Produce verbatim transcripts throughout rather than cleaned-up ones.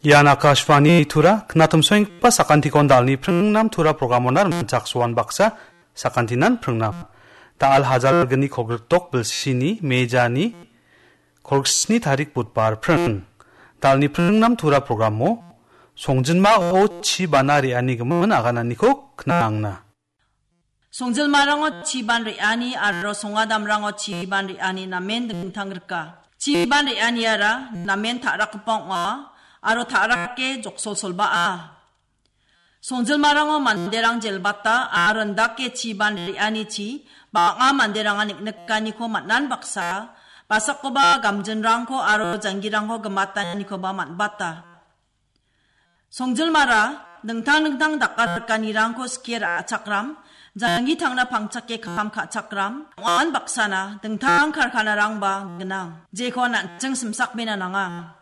Ian Akashvani Tura, knatumsoenggipa sakantikon dalni pringnam Tura programona rimchaksoan baksa, sakantinan pringnam. Dal hajalgni kogritok bilsini mejani kolsni tarik Budbar pring. Dalni pringnam Tura programo, songjinmao chi bana re·ani gimin agananiko knangna. Songjinmarango chiban re·ani aro songadamrango chiban re·ani namen dingtang rika. Chiban re·aniara namen ta·rakgipa ong·a aro ta·rake joksolsolbaa. Songjinmarango manderang jelbata aro indake chiban re·anichi bang·a manderangan niknikaniko man·an baksa, basakoba gamjinrangko aro janggirangko gimatanikoba man·bata. Songjinmara dingtang dingtang dakarikanirangko skie ra·chakram, janggi tangna pangchake kam ka·chakram, ong·an baksana dingtang karkanarangba gnang, jeko an·ching simsakbena nanga.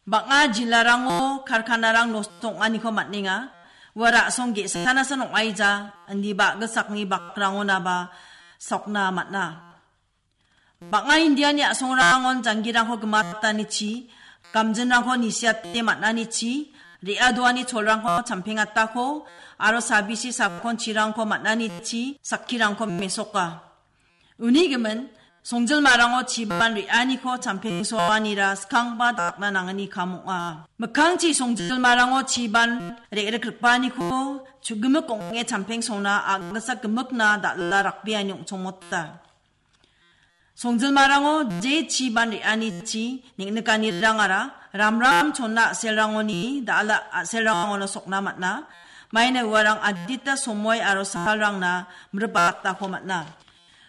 Bang·a jilarango karkanarang nosto ong·aniko man·enga, ua ra·song ge·sanasan ong·aija, indiba gisakni bakrangonaba sokna man·a. Bang·a Indiani a·songrangon janggirangko gimatanichi, gamjinrangko nisiate man·anichi, re·adoani cholrangko champengatako, aro sabisi sakonchirangko man·anichi, sakkirangko mesoka. Uni gimin, songjinmarango chiban re·aniko champengsoanira skangba dakna nangani kam ong·a. Mikkangchi songjinmarango chiban re·rikripaniko chu·gimik ong·e champengsona a·gisa gimikna dal·a rakbeani ong·chongmota. Songjinmarango je chiban re·anichi neng·nikanirangara ramram chonna a·selrangoni dal·a a·selrangono sokna man·a. Maina uarang adita somoi aro salrangna mribatako man·a.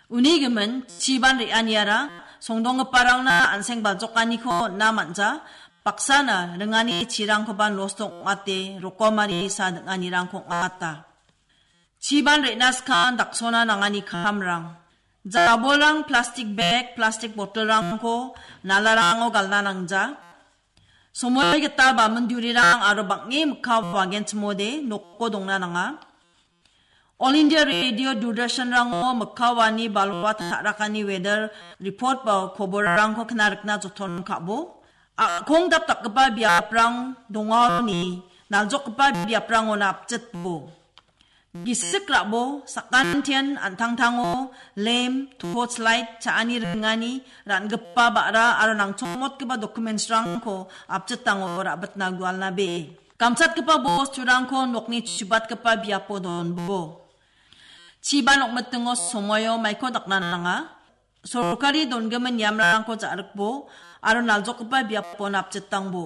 Uni gimin chiban re·aniara songdonggiparangna an·seng baljokaniko on·na man·ja, baksana ringani chirangkoba nosto ong·ate rokomari sa ding·anirangko ong·ata. Chiban re·na skang daksona nangani kamrang. Jabolrang plastik bag, plastik botolrangko nalarango galna nangja. Somoi gita bamin durirang aro bang·e mikka wagenchimode noko dongna nanga. All India Radio Doordarshanrango mikka wani balwa ta·rakani weather report ba koborrangko knarikna joton ka·bo. A·kong dapdapgipa biaprang dongaoni naljokgipa biaprangona apjitbo. Gisik ra·bo, sakantian an·tangtango lem, torch light, cha·ani ringani, ra·gipa ba·ra aro nangchongmotgipa documentsrangko apjitango ra·bitna gualnabe. Gamchatgipa bosturangko nokni chubatgipa biapo donbo. Chiban ong·mitingo somoio maiko dakna nanga. Sorkari dongimin niamrangko ja·rikbo aro naljokgipa biapo napjitangbo.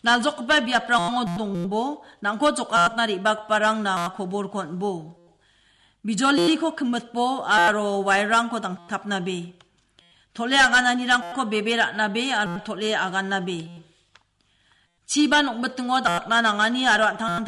Naljokgipa biaprango dongbo, nangko jokatna re·bagiparangna koborko on·bo. Bijoliko kimitbo aro wairrangko dangtapnabe. Tole agananirangko bebe ra·nabe aro tole agannabe. Chiban ong·mitingo dakna nangani aro an·tang